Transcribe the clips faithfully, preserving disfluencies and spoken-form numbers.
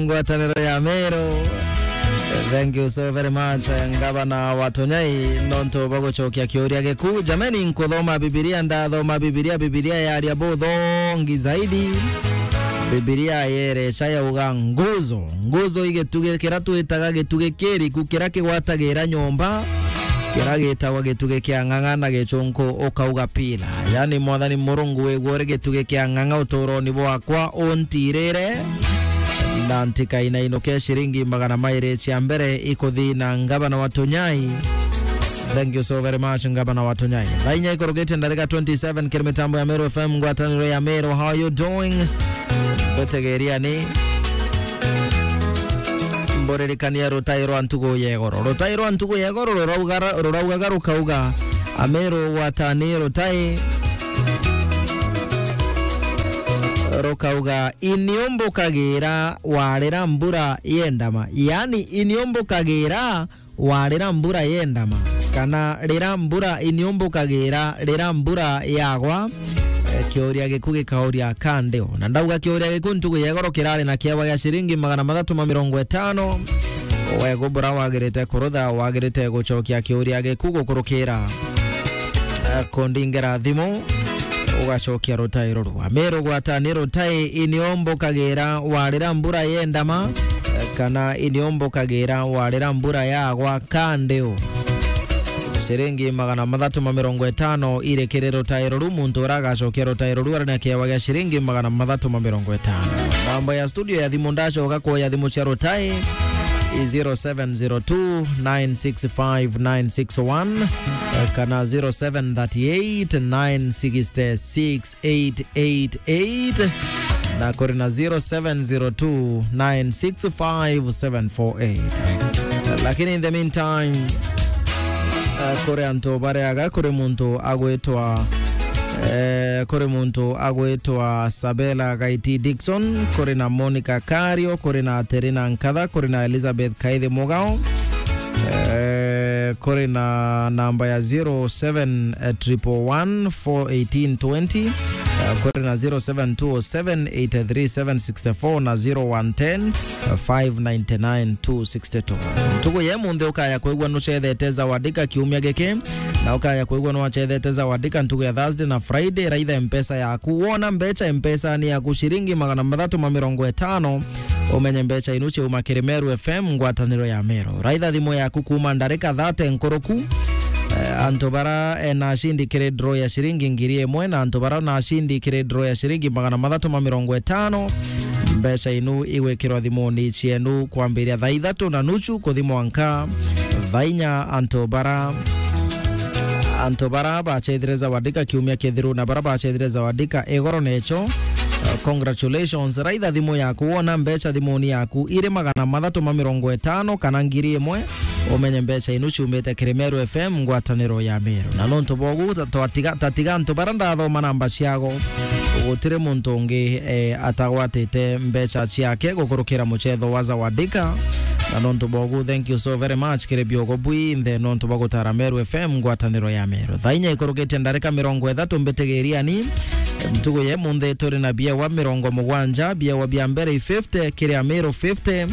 ngwataniro ya Meru. Thank you so very much, eh, ngavana wa Tunyai, nontu bwa gucokia kiuria giku. Jameni, nkuthoma Bibilia, ndathoma Bibilia, Bibilia yaria buthongi zaidi. Bibilia yereca yauga nguzo. Nguzo i gitugi kiria twitaga gitugi kiriku, kiria kigwatagira nyomba, kiria gitagwa gitugi kia ng'ang'a na gichunku ukauga pila. Yani, Mwathani Murungu, wigua uri gitugi kia ng'ang'a uturoni bwakwa, untirire. Na ntikainainuke ciringi magana mairi cia mbere ikuthina ngavana wa Tunyai. Thank you so very much, ngavana wa Tunyai. Thaa inya ikurukite ndarika twenty-seven kiri mitambo ya Meru F M, ngwataniro ya Meru. How are you doing? Gutegeriani. Mburirikania rutai rwa ntugu ya igoro. Rutai rwa ntugu ya igoro rurauga-, ruraugaga rukauga, Ameru gwatani rutai. Rukauga, iniumbukagira warira mbura yendama. Yani, iniumbukagira warira mbura yendama, kana rira mbura iniumbukagira, rira mbura yagwa, eh, kiuria giku gikauria kandeo. Na ndauga kiuria giku ntugu ya igoro kirari na kiewa gia ciringi magana mathatu ma mirongo itano. Wegu bura wagirite kurutha, wagirite gucokia kiuria giku gukurukira, eh, kundingera thimu, ugacokia rutai ruru. Ameru gwatani rutai iniumbukagira warira mbura yendama, kana iniumbukagira warira mbura yagwa kandeo. Ciringi magana mathatu ma mirongo itano iri kiri rutai ruru, muntu uria agacokia rutai ruru ari na kiewa gia ciringi magana mathatu ma mirongo itano. Namba ya studio ya thimu ndacoka kuoya thimu cia rutai i zero seven zero two nine six five nine six one, eh, kana zero seven thirty eight nine six six eight eight eight, na kuri na zero seven zero two nine six five seven four eight. Lakini in the meantime, eh, kuri antu bariaga, kuri muntu agwitwa, eh, kuri muntu agwitwa Sabela Gaiti Dixon, kuri na Monica Kario, kuri na Terina Nkatha, kuri na Elizabeth Kaithe Mugao, eh, kuri na namba ya zero seven triple one four eighteen twenty, eh, kuri na zero seven two oh seven eight three seven six four na zero one ten five ninety nine two sixty two. Ntugu ya munthi ukaya kwigua nucethete Zawadika kiumia giki, na ukaya kwigua nwacethete Zawadika ntugu ya Thursday na Friday, raitha mpesa yaku. Wona mbecha mpesa ni yaku ciringi magana mathatu ma mirongo itano, umenye mbecha inu ciauma kiri Meru F M, ngwataniro ya Meru. Raitha thimu yaku kuuma ndarika thirty nkuruku. Eh, antu bara, eh, nacindi kiri draw ya ciringi ngiri imwe, na antu bara nacindi kiri draw ya ciringi magana mathatu ma mirongo itano, mbecha inu igwikirwa thimuni cienu kwambiria thaa ithatu na nusu kuthi mwanka thaa inya. Antu bara, antu bara bachethire Zawadika kiumia kithiru na bara bachethire Zawadika igoro necho, uh, congratulations. Raitha thimu yaku, wona mbecha thimuni yaku iri magana mathatu ma mirongo itano kana ngiri imwe, umenye mbecha inu ciumite kiri Meru F M, ngwataniro ya Meru. Na nontu bogu, ta-, twatiga, tatiga antu bara ndathoma namba ciago, gutiri muntu ungi, eh, atagwatite mbecha ciake gukurukira muchetho wa Zawadika. Na nontu bogu, thank you so very much kiri biogo bwinthe nontu bwa gutara Meru F M, ngwataniro ya Meru. Thaa inya ikurukitie ndarika mirongo ithatu, mbitigiriani. Ntugu ya munthi turi na biewa mirongo mugwanja, biewa bia mbere i fifty kiri Ameru fifty,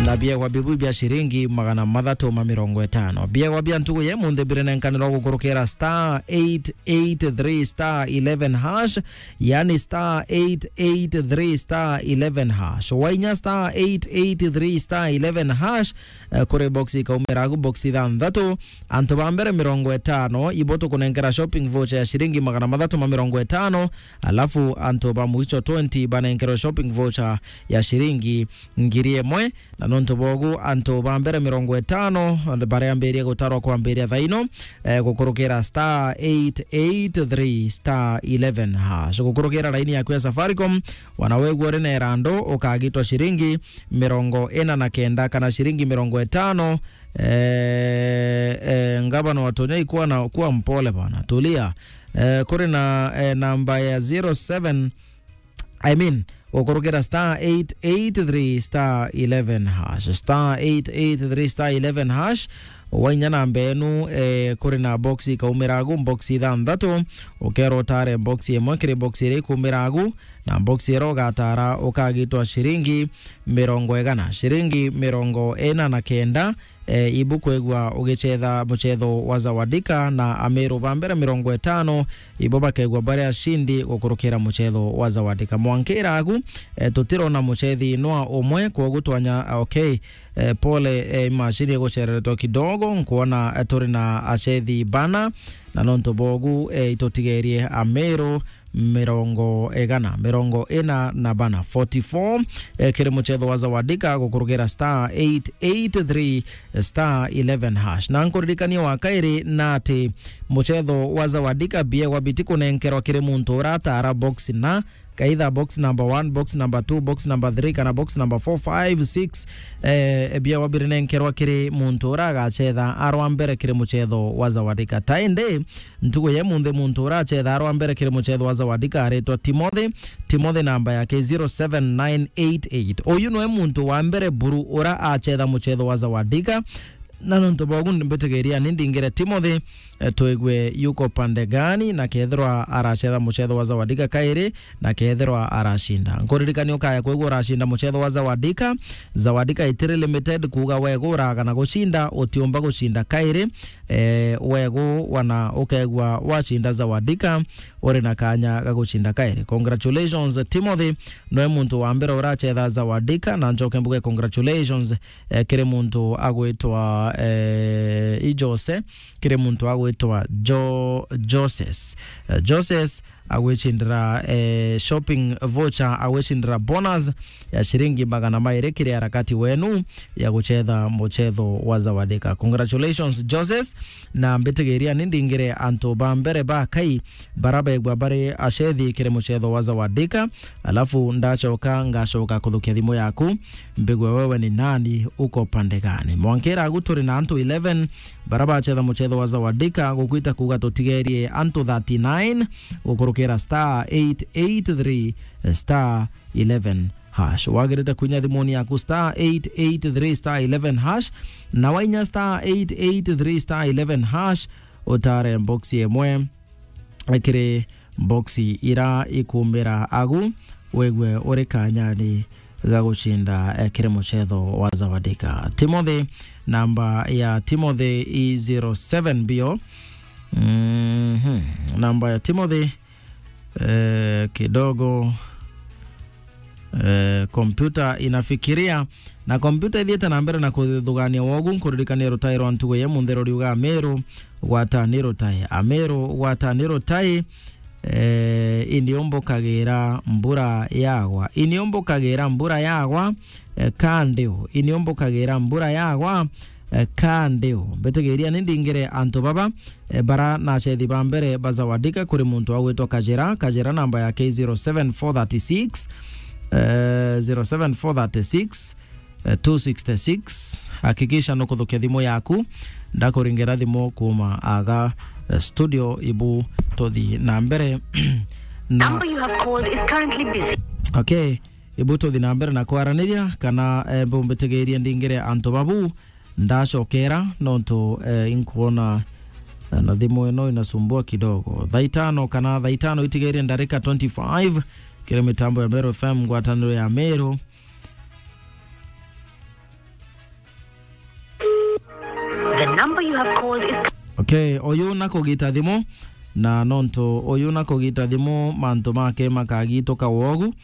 na biewa bibu bia ciringi magana mathatu ma mirongo itano. Biewa bia ntugu ya munthi birinenkanirwa gukurukira star eight eight three star eleven hash, yani star eight eight three star eleven hash. Wainya star eight eight three star eleven hash, eh, kuri box ikaumira agu box ithanthatu. Antu ba mbere mirongo itano, ibo tukunenkera shopping voucher ya ciringi magana mathatu ma mirongo itano, alafu antu ba mwicho twenty banenkerwe shopping voucher ya ciringi ngiri imwe. Na nontu bogu, antu ba mbere mirongo itano bariambirie gutarwa kwambiria thaino, eh, gukurukira star eight eight three star eleven hash. Gukurukira laini yaku ya Safaricom, wana wegua uri na irandu, ukagitwa ciringi mirongo ina na kenda kana ciringi mirongo itano. Eh, eh, ngavana wa Tunyai, kuwa na, kuwa mpole bana, tulia. Eh, kuri na, eh, namba ya zero seven, I mean, gukurukira star eight eight three star eleven hash, star eight eight three star eleven hash. Wainya namba enu, eh, kuri na box ikaumira agu, box ithanthatu, ukerwa utare box imwe kiri box iria ikuumira agu, na box iria ugatara ukagitwa ciringi mirongo igana, ciringi mirongo ina na kenda. Eh, ibu kwigua ugicetha mucetho wa Zawadika, na Ameru ba mbere mirongo itano ibo bakegua bari ashindi gukurukira mucetho wa Zawadika. Mwankira agu, eh, tutirona mucethi nwa umwe, kwogu twanya, okay, eh, pole, eh, imashini igucereretwe kidogo, nkwona, eh, turi na acethi bana, na nontu bogu, eh, itutigerie Ameru mirongo igana, mirongo ina na bana, forty-four, eh, kiri mucetho wa Zawadika gukurukira star eight eight three star eleven hash. Na nkuririkanie wa kairi na ati mucetho wa Zawadika biegwa biti kunenkerwa kiri muntu uratara box na kaitha box number one, box number two, box number three, kana box number four, five, six, eh, biegwa birinenkerwa kiri muntu ura agacetha arwa mbere kiri mucetho wa Zawadika. Ta indi, ntuku ya munthi muntu uracetha arwa mbere kiri mucetho wa Zawadika aritwa Timothy. Timothy namba yake zero seven nine eight eight. Uyu niwe muntu wa mbere buru ura acetha mucetho wa Zawadika. Na nontu bogu mbitigiria ni ndingire Timothy, eh, twigue yuko pande gani, na kethirwa aracetha mucetho wa Zawadika kairi, na kethirwa aracinda. Nkuririkania ukaya kwigua uracinda mucetho wa Zawadika. Zawadika itiri limited, kuuga wegura kana gucinda, utiumba gucinda kairi. Eh, wegu wana ukegua wacinda Zawadika, uri na kanya ga gucinda kairi. Congratulations, Timothy, noe muntu wa mbere uracetha Zawadika, na njoke mbuge congratulations, eh, kiri muntu agwitwa, eh, i Jose, kiri muntu agwitwa Jo-, Joses. Eh, Joses agwicindira, eh, shopping voucher, agwicindira bonus ya ciringi magana mairi kiri harakati wenu ya gucetha mucetho wa Zawadika. Congratulations, Joses, na mbitigiria ni ndingire antu ba mbere ba kai bara begwa bari acethi kiri mucetho wa Zawadika, alafu ndacoka ngacoka kuthukia thimu yaku, mbigwe wewe ni nani, uko pande gani. Mwankira agu turi na antu eleven bara bacetha mucetho wa Zawadika, gukwita kuuga tutigerie antu thirty-nine gukurukira star eight eight three star eleven hash. Wagirite kuinya thimuni yaku star eight eight three star eleven hash, na wainya star eight eight three star eleven hash, utare box imwe kiri box ira ikumira agu, wegwe uri kanyani ga gucinda, eh, kiri mucetho wa Zawadika. Timothy, namba ya Timothy i zero seven bio. Mhm. Namba ya Timothy, eh, kidogo, eh, kompyuta inafikiria, na kompyuta ithiite na mbere na kuthugania wogu. Nkuririkania rutai rwa ntugo ya munthi ruriuga, Ameru gwata ni rutai, Ameru gwata ni rutai, eh, iniumbukagira mbura yagwa, iniumbukagira mbura yagwa, eh, kandiu, iniumbukagira mbura yagwa, eh, kandiu. Mbitigiria ni ndingire antu baba, eh, bara na acethi ba mbere ba Zawadika kuri muntu agwitwa Kajira. Kajira namba yake zero seven four thirty six, eh, zero seven four thirty six, eh, two sixty six. Hakikisha nukuthukia thimu yaku, ndakuringera thimu kuma aga, eh, studio, ibu tuthi na mbere. Na number you have called is currently busy. Okay, ibu tuthi na mbere na kwaraniria, kana, eh, mbumbitigirie ndingire antu babu, ndacokera, nontu, eh, inkuona, eh, na thimu ino inasumbua kidogo. Thaa itano kana thaa itano itigirie ndarika twenty-five, kiri mitambo ya Meru F M, ngwataniro ya Meru. The number you have called is Okay, uyu na kugita thimu, na nontu uyu na kugita thimu, mantu make makagituka wogu,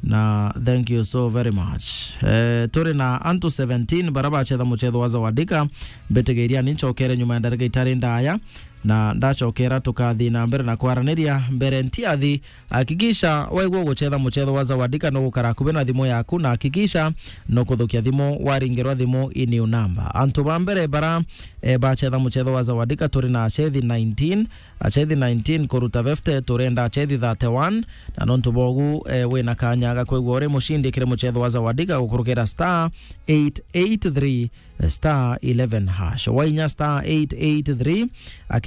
na thank you so very much. Eh, turi na antu seventeen bara bacetha mucetho wa Zawadika. Mbitigiria ni ncokere nyuma ya ndarika itari ndaya, na ndacokera tukathi na mbere na kwaraniria mbere ntiathi. Hakikisha waigua gucetha mucetho wa Zawadika no gukara akubi na thimu yaku, na hakikisha no kuthukia thimu waringirwa thimu i new number. Antu ba mbere bara, eh, bacetha mucetho wa Zawadika turi na acethi nineteen, acethi nineteen kuruta fifty, turenda acethi thirty-one, na nontu bogu, eh, wina kanya ga kwigua uri mucindi kiri mucetho wa Zawadika gukurukira star eight eight three star eleven hash. Wainya star eight eight three,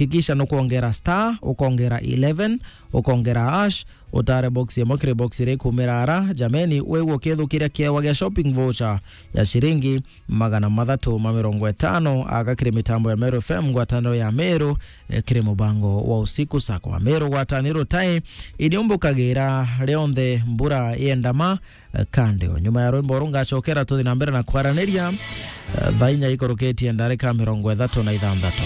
Hakikisha nukwongera star, ukongera eleven, ukongera hash, utare box imwe kiri box iria ikumira ara. Jameni, wigua ukithukiria kiewa gia shopping voucher ya ciringi magana mathatu ma mirongo itano, aga kiri mitambo ya Meru F M, ngwataniro ya Meru, eh, kiri mubango wa usiku sakwa. Meru gwataniro tai, iriumbukagira rionthe mbura yendama, eh, kandi o nyuma ya rwimbo ru ngacokera tuthi na mbere na kwaraniria, eh, thaa inya ikurukitie ndarika mirongo ithatu na ithanthatu.